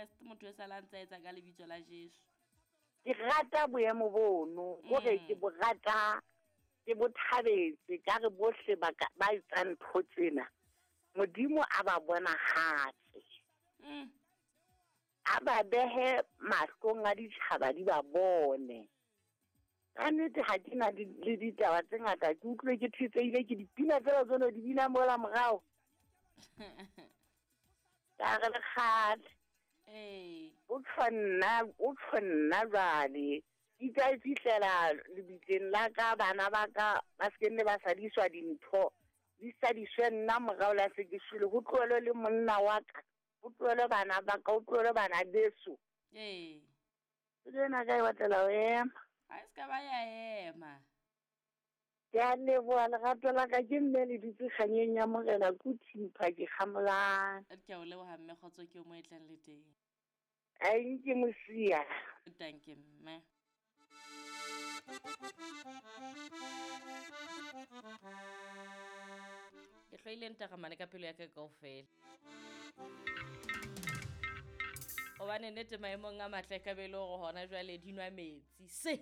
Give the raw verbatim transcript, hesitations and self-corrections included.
Kreste motho e sala ntse a etsa ka lebitso la Jesu. Ke rata boemo bono, kore Mm. ke bo rata, ke bo thabetse ka re bohle ba ka ba etsang ntho tsena. Modimo a ba bonahatse. Mm. A ba behe mahlong a ditjhaba di ba bone. Ka nnete ha ke na di- le ditaba tse ngata, ke utlwe ke thetsehile ke dipina tsela tseno di bina mola morao. Ka re le kgale. Ee. O tjho nna, o tjho nna jwale. Ke tla e fihlela lebitleng la ka, bana ba ka ba se ke nne ba sadiswa dintho. Di sadiswe nna morao la se ke shwele. Ho tlohellwe le monna wa ka, ho tlohellwe bana ba ka, ho tlohellwe bana beso. Ee. Pelo ena ka e batlela ho ema. Ha e se ka ba ya ema. Ke a leboha lerato la ka, ke mme le dutse kganyeng ya Morena ke o thimpha ke kgamolang. Ke a o leboha mme, kgotso ke o mo e tlang le teng. Ai nke mosia. Danke mme. Ke hloile ntaramane ka pelo ya ka kaofela. Hobane nnete maemong a matle ka be e le hore hona jwale di nwa metsi. Se